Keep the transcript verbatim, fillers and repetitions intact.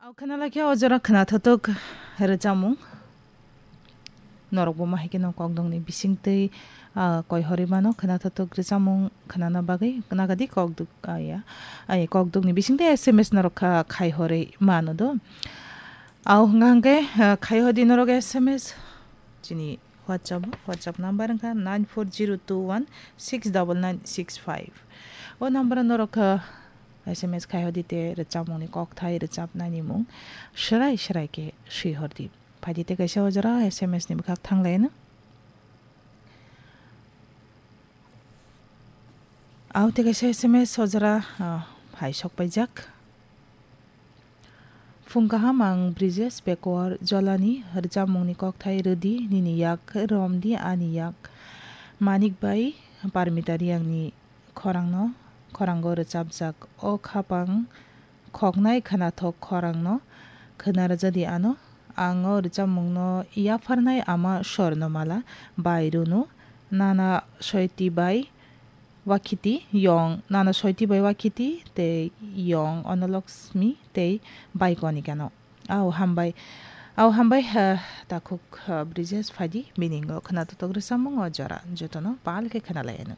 Au khwnalakhe o jora khwnathotok rwchapmung. Norokbo mahaikhe no kokdokni bisingtwi, ah, koihorwi mano khwnathotok rwchapmung khwnana bagwi nagadi kokdok, ah, ya, ai kokdokni bisingtwi S M S norok kha khaihorwi mano do. Au hwnkha hwnkhe, ah, khaihordi norok S M S chini WhatsApp, WhatsApp number wngkha nine four zero two one six double nine six five. O number o norok, ah, S M S khaihordi tei rwchapmungni kokthai rwchapnaini mung swrai swrai khe swihordi. Phaidi tei kaisa o jora S M S ni bwkhak thanglaino. Au tei kaisa S M S o jora, ah, hai sok paijak. Phung kaham, ang Brijesh Bekowar Jolani rwchapmungni kokthai rwdi nini yak romdi ani yak. Manik bai Parmita Riyangni khorangno, khorango rwchapjak o khapang khoknai khwnathok khorangno khwna rwjadi ano. Ang o rwchapmungno yapharnai ama Swarnamala bai Runu, Nana Soiti bai Wakhiti, Yong, Nana Soiti bai Wakhiti tei Yong Onolokshmi tei bai Konikano. Au hambai, au hambai, ha, takhuk, ha, Brijesh phaidi, biningo khwnathok rwchapmung o jora jotono pal khe khwnalai ano.